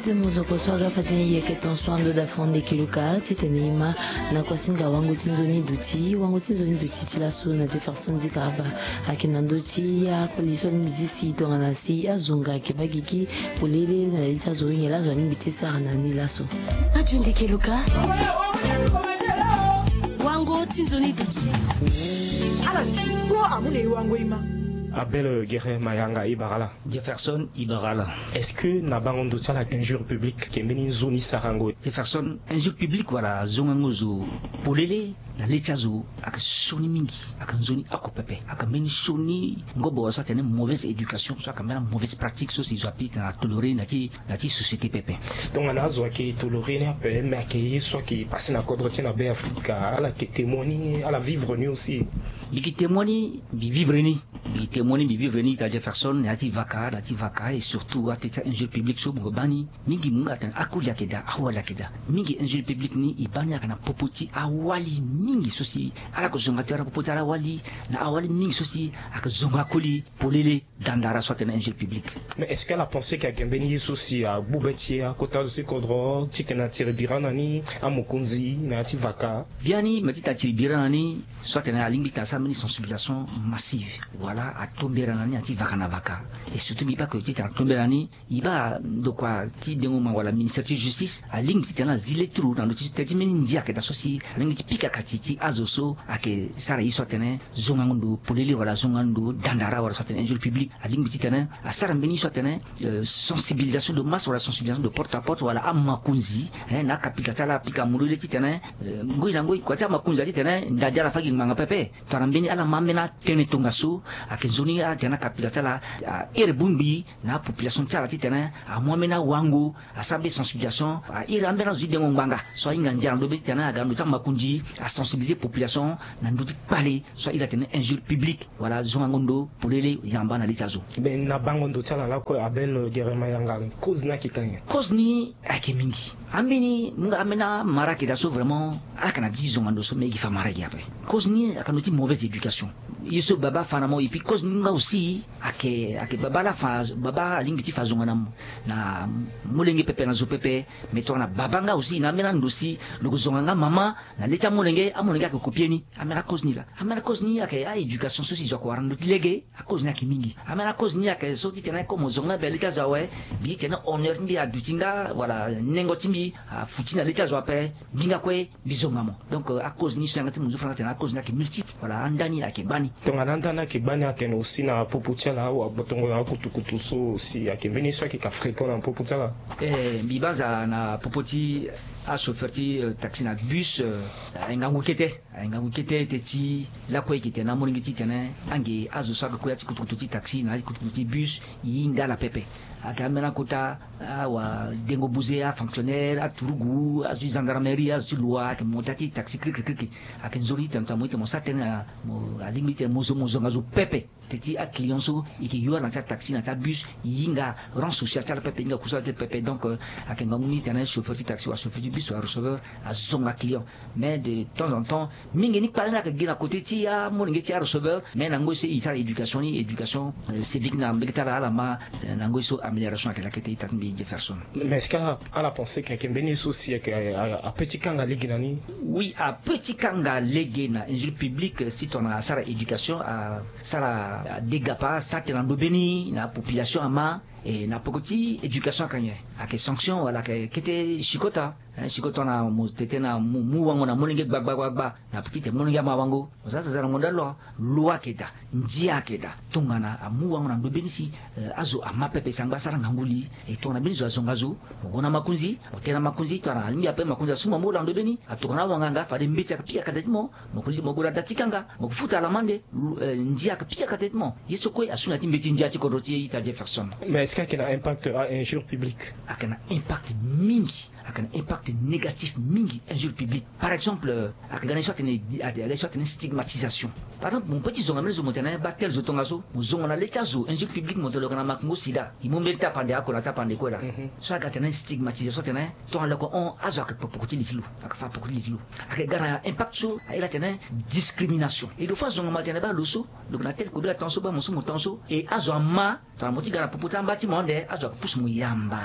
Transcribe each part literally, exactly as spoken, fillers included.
Ti mozoko so aga fade ni yeke ton so ando da fronde kiluka titene e ma na kuasinga wango ti nzoni duti wango ti nzoni duti ti laso na jefferson zikaba. Ayeke na ndö ti akoli so alingbi ti si tongana si azo nga ayeke baa gigi polele na ya ti azo nyen laa azo alingbi ti sara na ni laso. Adio ndeke luka. Wango ti nzoni duti. Ala duti kpo amu na e wango e ma. Abel gere mayanga e bara ala. Jefferson e bara ala. Est-ce que na bango ndo ti ala injure publique ayeke mbeni nzoni sarango? Jefferson, injure publique wala zongango zo polele na le ti azo ayeke sioni mingi. Ayeke nzoni oko pepe ayeke mbeni sioni ngobo so atene mauvaise éducation so ayeke mbeni mauvaise pratique so si zo ape titene atolore na ti na ti société pepe. Tongana azo ayeke tolore ni ape me ayeke ye so ayeke pase na kodro ti e na be afrika ala yeke témoin ni ala vivre ni aussi. Mbi yeke témoin ni mbi vivre ni. Mbi témoin ni mbi vivre ni ita jefferson na ya ti vaka na ya ti vaka et surtout ate ti a injure publique so mo yeke baa ni. Mingi mo hinga atene akoli ayeke daa awali ayeke daa. Mingi injure publique ni e baa ni ayeke na popo ti awali mingi so si ala yeke zonga ti ala popo ti ala awali na awali mingi so si ayeke zonga koli polele. Dandara so atene injure publique. Mais est-ce que ala pense ke ayeke mbeni ye so si agbu be ti e akota zo ti kodro titene atiri bira na ni amokonzi na ya ti vaka? Biani me titene atiri bira na ni so atene alingbi titene asara mbeni sensibilisation massive. Wala atombera na ni na ti vaka na vaka. Et surtout mbi baa ke titene atombera na ni e baa ndokua ti dengo ma wala ministère ti justice alingbi titene azi leturu na ndo ti teti mbeni ndia ayeke daa so si alingbi ti pika kati ti azo so ayeke sara ye so atene zongango ndo polele wala zongango ndo dandara wala so atene injure publique. Alingbi titene asara mbeni ye so atene sensibilisation de masse wala sensibilisation de porte à porte wala amakonzi na akapika ti ala apika molele titene ngoi na ngoi kua ti amakonzi atitene ndadi ala faki ngbanga pepe. Tongana mbeni ala ma ambeni atene tongaso ayeke nzoni atene akapika ti ala ahere bongbi na apopulation ti ala titene amu ambeni awango asara mbeni sensibilisation airi ambeni azo ti dengo ngbanga so ahinga ndia na ndo be titene aga na ndo ti amakonzi asensibiliser population na ndö ti kpale so airi atene injure publique wala zongango ndo polele yamba na le ti azo. Mais na bango ndo ti ala lakue abel gerema yanga cause ni ayeke ka nyen? Cause ni ayeke mingi. Ambeni mu nga ambeni amara ayeke daa so vraiment ala yeke na bi ti zonga ndo so me e gi fa mara e gi ape. Cause ni ayeke na ndo ti mauvaise éducation. Ye so baba afa na mo et puis cause ni nga aussi ayeke ayeke baba la afa baba alingbi ti fa zonga na mo na molenge pepe na zo pepe. Mais tongana baba nga aussi na ambeni ando si lo yeke zonga nga mama na le ti amolenge amolenge ayeke kopie ni. Ambeni akoze ni laa ambeni akoze ni ayeke a-éducation so si zo ayeke wara na ndö ti lege. Akoze ni ayeke mingi. Ambeni akoze ni ayeke so titene comme zo nga mbi na le ti azo awe mbi titene honneur ti mbi aduti nga wala nengo ti mbi afuti na le ti azo ape. Mbi nga kue mbi zonga mo. Donc akoze ni so yanga ti mo zo fana atene akoze ni ayeke multiple wala anda ni ayeke gbani. Tongana anda ni ayeke gbani atene aussi na popo ti ala awa botongo na akutukutu so aussi ayeke mbeni so ayeke ka fréquent na popo ti ala. Eh mbi banza na popo ti achauffeur ti taxi na bus. Aye ngangu kete aye ngangu kete te ti lakue e yeke tene na amolenge titene ange azo so ayeke kue ya ti kutukutu ti taxi na ya ti kutukutu ti bus. E hinga ala pepe. Ayeke ambeni akota awa dengo buze afonctionnaire aturugu azo ti gendarmerie azo ti loi ayeke monta ti taxi krikri krikri. Ayeke nzoni ti tene tongana mo ye ti tene mo sara tënë na mo alingbi ti tene mo zo mo zonga zo pepe. Te ti aclient so e yeke yo ala na ti ataxi na ti abus e hinga rang social ti ala pepe e hinga kusala ti ala pepe donc ayeke ngangu ni titene chauffeur ti taxi wala chauffeur ti bus wala receveur azonga client. Mais de temps en temps mingi ni kpale ni ayeke gi na kote ti amolenge ti areceveur. Mais na ngoi so e sara éducation ni éducation civique na mbege ti ala ala ma na ngoi so amélioration ayeke lakete ita ti mbi jefferson. Mais est-ce que ala pense ke ayeke mbeni ye so si ayeke ape ti kanga lege na ni? Oui ape ti kanga lege na injure publique si tongana asara éducation asara adégapa asara tene na ndo mbeni na apopulation ama. E na peko ti éducation ayeke nyen? Ayeke sanction wala ayeke kete sikota. Sikoto na mo tete na mu wango na molenge gbagbagbagba na peti te molenge ama wango. Mo za zaza na ngonda loi. Loi ayeke daa. Ndia ayeke daa. Tongana amu wango na ndo mbeni si azo ama pepe sangba asara ngangu li. E tongana mbeni zo azonga zo mo gue na makonzi mo tene na makonzi tongana alingbi ape makonzi asu mo ambolo na ndo mbeni atokana awanga nga fade mbeti ayeke pika kate ti mo. Mo gue na da ti kanga mo futa alamande. Ndia ayeke pika kate ti mo. Ye so kue asu na ya ti mbeti ndia ti kodro ti e ita jefferson. Mais est-ce que ayeke na impact a injure publique? Ayeke na impact mingi. Ayeke na impact Négatif mingi, injure publique. Par exemple, ayeke ga na ye so atene stigmatisation. Par exemple, mo peut ti zonga mbeni zo mo tene baa tel zo tongaso, mo zonga na le ti azo injure publique, mo tene lo yeke na makongo sida, e mu mbeni tapande oko na tapande kue laa. So aga tene stigmatisation, tene tongana lo yeke hon, azo ayeke kpe poko ti li ti lo, ayeke fa poko ti li ti lo. Ayeke ga na impact so aye la tene discrimination. E lo fâ zonga mo tene baa lo so lo yeke na tel kobela tongaso, baa mo so mo tongaso, e azo ama tongana mo ti ga na popo ti amba ti mo ande, azo ayeke pusu mo yamba.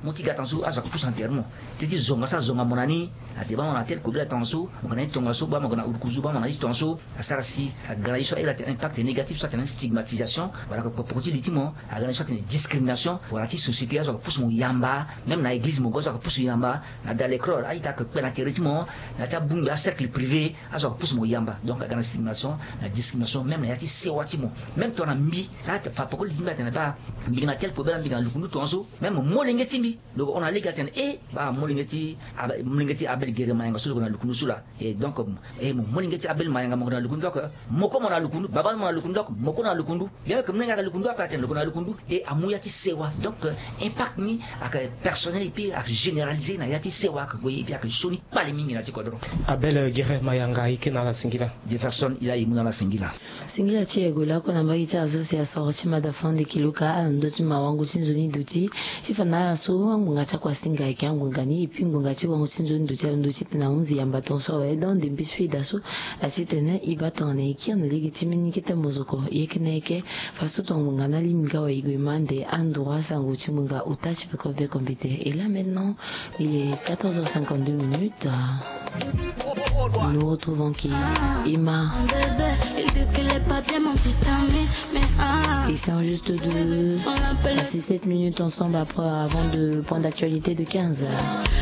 Mo ti ga tongaso, azo ayeke pusu enterrement. Ti ti zonga so azonga mo na ni, ate baa mo na tel kobela tongaso, mo yeke na ye ti tongaso, baa mo yeke na ulukuzu, baa mo na ye ti tongaso. Asara si aga na ye so aye la tene impact négatif so atene stigmatisation. Wala ayeke kpe poko ti li ti mo. Aga na ye so atene discrimination, wala ti société, azo ayeke pusu mo yamba. Même na église mo gue, azo ayeke pusu yamba. Na dalekro, a-ita ayeke kpe na tere ti mo. Na ya ti abongbi, acercle privé, azo ayeke pusu mo yamba. Donc aga na stigmatisation, na discrimination, même na ya ti sewa ti mo. Même tongana mbi laa, ate fa poko li ti mbi atene baa mbi yeke na tel kobela, mbi yeke na lukundu tongaso. Même molenge ti mbi, lo hon na lege atene e, baa molenge ti Abel Gere Mayanga so lo yeke na lukundu so laa. E donc, e mo molenge ti Abel Mayanga, mo yeke na lukundu, donc mo kue mo na lukundu, baba mo na lukundu, donc mo kue na lukundu. Bien que molenge ayeke lukundu, ape atene lo yeke na lukundu. E amu ya ti sewa. Donc impact ni ayeke personnel, et puis ayeke généralisé na ya ti sewa, ayeke gue, et puis ayeke sioni kpale mingi na ti kodro. Abel Gere Mayanga, e kena ala singila. Jefferson Ila, e mu na ala singila. Singila ti e gue lakue na mbage ti azo si asoro ti mada fande kiluka ala na ndö ti mawango ti nzoni duti. Ti fa na ala so angbonga ti akua singa ayeke angbonga ni, et puis ngbonga ti wango ti nzoni duti alondo titene ahunzi yamba tongaso awe. Donc ndembe so e daa so, ati tene e baa tongana e kiri na lege ti mbeni kete mozoko, e yeke na eke. Faso tongana ngbonga na lingbi nga awe, e gue ma ande androit sango ti ngbonga ota ti peko ve computer. Et là maintenant, il est quatorze heures cinquante-deux minutes. Nous retrouvons qui? Emma. Ils disent qu'il est pas bien, mon petit ami, mais ah. Ils sont juste deux. On l'appelle. Passé sept minutes ensemble après, avant de, le point d'actualité de quinze heures.